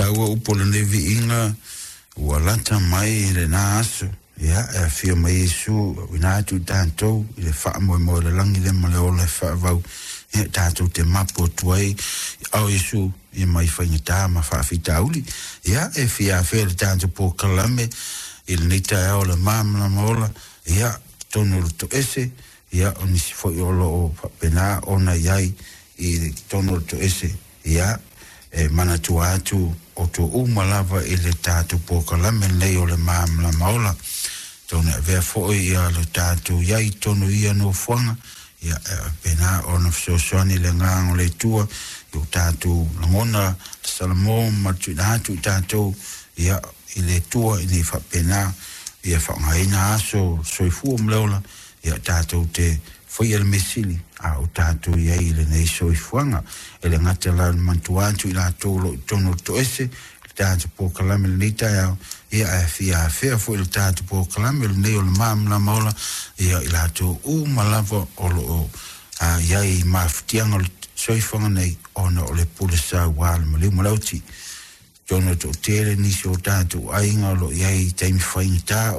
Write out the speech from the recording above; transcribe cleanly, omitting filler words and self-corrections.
Taua upu o lenei viiga, ua lata mai lena aso, ia, e afio mai Iesu auina atu i tatou i le faamoemoe o le lagi lea ma le ola e faavau, ia, tatou te mapu atu ai i ao Iesu, ia mai faigata ma faafitauli. Ia, e fia afea le tatou polokalame i lenei taeao o le Malamalama Ola, ia, totonu o le toese, ia, o nisi foi o lo o faapena ona i ai i totonu o le toese, ia, e manatua atu outou uma lava i le tatou polokalame lenei o le Malamalama Ola. Tonu e avea foi ia le tatou i ai i totonu o ia nofoaga, ia, e faapena ona fesoasoani le agaga o le Atua i o tatou lagona salamo ma le tuuina atu i tatou, ia, i le Atua ina ia faapena ia faaaogaina aso soifua ma le ola, ia tatou te faia le mea sili a o tatou i ai i lenei soifuaga. E le gata la o le manatua atu i latou o lo o i totonu o le toese le tatou polokalame i lenei taeao, ia, ae fia afea foi le tatou polokalame lenei o le Malamalama Ola, ia, i latou uma lava o lo o i ai i mafatiaga o le soifuaga nei ona o le pule sauā le maliu ma le oti. Totonu o le toatele nisi o tatou aiga o lo o i ai i taimi faigata.